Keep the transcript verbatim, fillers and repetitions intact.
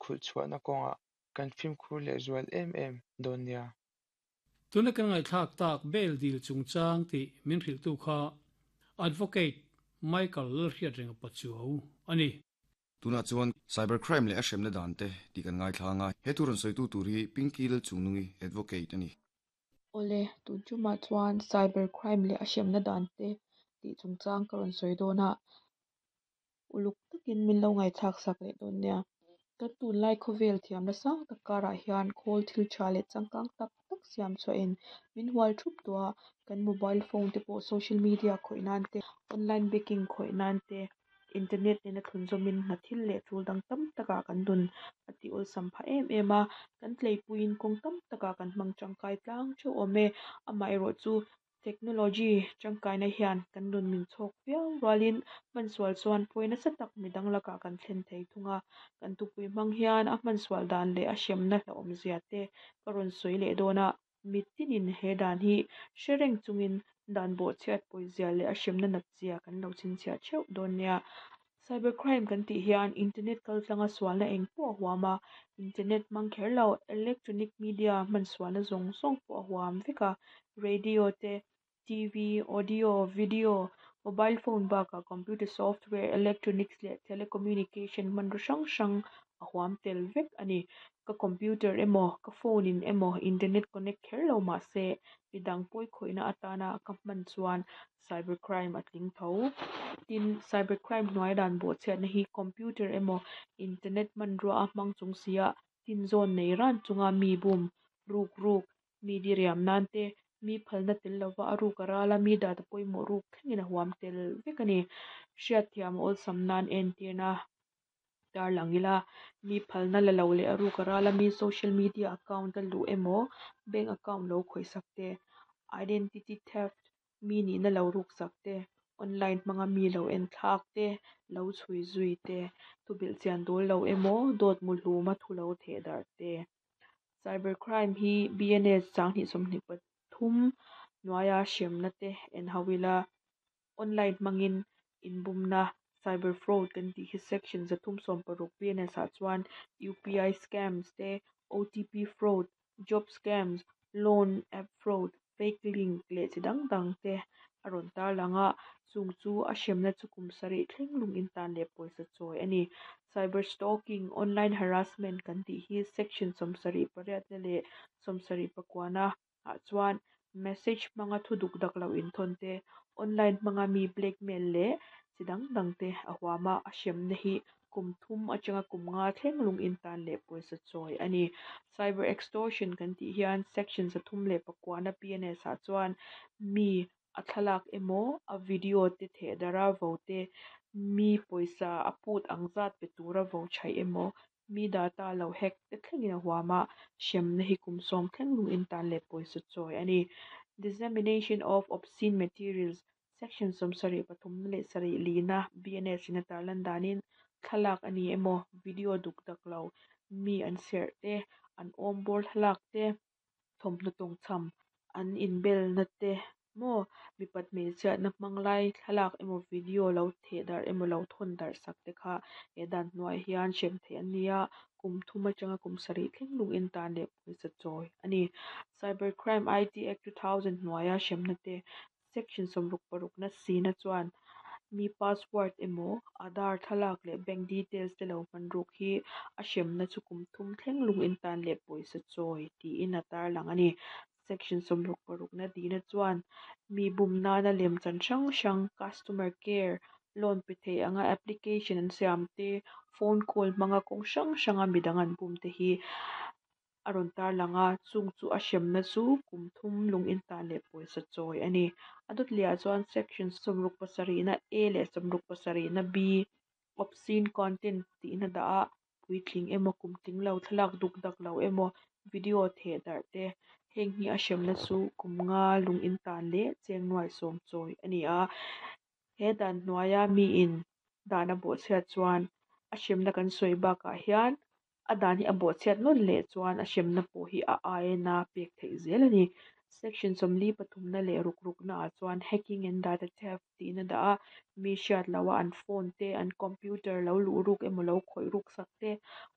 khulh chhuahna kawngah kan fimkhur lehzual em em dawn nia. Tuna kan ngaihthlak tak bail dil chungchang tih min hrilhtu kha Advocate Michael Lalhriatrenga Pachuau a ni. Tunah chuan cybercrime leh a hremna dan te tih kan ngaithla anga, he thu rawn sawitu tur hi Pinky Lalchungnungi Advocate a ni. Awle, tun tumah chuan cybercrime leh a hremna dan te tih chungchang ka rawn sawi dawn a, uluk takin min lo ngaihthlak sak leh dawn nia. Kan tunlai khawvel thiamna sang tak karah hian khawl thil tha leh changkang tak tak siam chhuahin min hual thup tawh a, kan mobile phone te pawh social media khawih nan te, online banking khawih nan te, internet nena thlunzawmin hna thil leh tul dang tam takah kan dun a tih awlsam phah em em a, kan tleipuiin kawng tam takah kan hmang tangkai tlang theuh awm e. Amaherawhchu technology tangkaina hian kan nun min chhawk viau rualin hmansual chuan pawi nasa tak midang lakah kan thlen thei thung a, kan tupui hmang hian a hmansual dan leh a hremna hlauhawmzia te ka rawn sawi leh dawn a, mitinin he dan hi hre reng chungin dan bawhchhiat pawizia leh a hremna natzia kan lo chhinchhiah theuh dawn nia. Cybercrime kan tih hian internet kaltlanga sualna eng pawh a huam a, internet hmang kher lo electronic media hman sualna zawng zawng pawh a huam vek a, radio te, T V, audio, video, mobile phone bakah computer software, electronics leh telecommunication hmanraw hrang hrang a huam tel vek a ni. Ka computer emaw, ka phone in emaw internet connect kher lo mah se midang pawi khawihna atana ka hman chuan cybercrime a tling tho. Tin, cybercrime hnuai dan bawhchhiatna hi computer emaw internet hmanrua a hmang chung sia tin zawn nei ran chunga mi bum, ruk ruk, mi diriam nan te, mi phalna tel lova a ruk a ral a, mi data pawimawh ruk thlengin a huam tel vek a ni. Hriatthiam a awlsam nan entirna tarlang ila, mi phalna la lo leh a ruk a ral a, mi social media account a luh emaw, bank account lo khawihsak te, identity theft, mi nihna lo ruksak te, online hmanga mi lo en thlak te, lo chhui zui te, thubilh chian dawl lo emaw, dawt mu hluma thu lo theh darh te. Cybercrime hi B N S sanghnih sawmhnih pathum hnuaia hremna te en ho ila, online hmangin inbumna cyber fraud kan tih hi section zathum sawm paruk B N S ah chuan U P I scams te, O T P fraud, job scams, loan app fraud, fake link leh chi dang dang te a rawn tarlang a, chung chu a hremna chu kum sarih thleng lung in tan leh pawisa chawi a ni. Cyber stalking, online harassment kan tih hi section sawmsarih pariatna leh sawmsarih pakuana ah chuan message hmanga thu duk dak lo inthawn te, online hmanga mi blackmail leh chi dang dang te a huam a, a hremna hi kum thum atanga kum nga thleng lung in tan leh pawisa chawi a ni. Cyber extortion kan tih hian section zathum leh pakuana P N S ah chuan mi a thlalak emaw a video te theh dara vo te, mi pawisa a put ang zat pe tura vo chhaih emaw, mi data lo hack te thlengin a huam a, hremna hi kum sawm thleng lung in tan leh pawisa chawi a ni. Dissemination of obscene materials section sawmsarih pathum leh sarih lina B N S in a tarlan danin thlalak a ni emaw video duk dak lo mi an serh te, an awm bawr thlalak te, thawmhnaw tawngchham an inbelna te maw mipat hmeichhiatna hmang lai thlalak emaw video lo theh darh emaw lo thawn darh sak te kha he dan hnuai hian hrem theih an ni a, kum thum atanga kum sarih thleng lung in tan leh pawisa chawi a ni. Cybercrime I T Act two thousand hnuaia hremna te section sawmruk parukna sina chuan mi password emaw Aadhaar thlalak leh bank details te lo hman ruk hi a hremna chu kum thum thleng lung in tan leh pawisa chawi tiin a tarlang a ni. Section sawmruk parukna dina chuan mi bum nana lemchan hrang hrang customer care loan pe thei anga application an siam te, phone call hmanga kawng hrang hranga midang an bum te hi a rawn tarlang a, chung chu a hremna chu kum thum lung in tan leh pawisa chawi a ni. A dawt lehah chuan section sawmruk pasarihna A leh sawmruk pasarihna B obscene content tihna dah a, puitling emaw kum tling lo thlalak duk dak lo emaw video theh darh te, heng hi a hremna chu kum nga lung in tan leh cheng nuai sawm chawi a ni a. He dan hnuaia mi in dan a bawhchhiat chuan a hremna kan sawi bakah hian a dan hi a bawhchhiat nawn leh chuan a hremna pawh hi a aina pek theih zel a ni. Section sawmli pathumna leh ruk rukna ah chuan hacking and data theft tihna dah a, mi hriat loa an phone te, an computer lo luh ruk emaw lo khawih ruk sak te,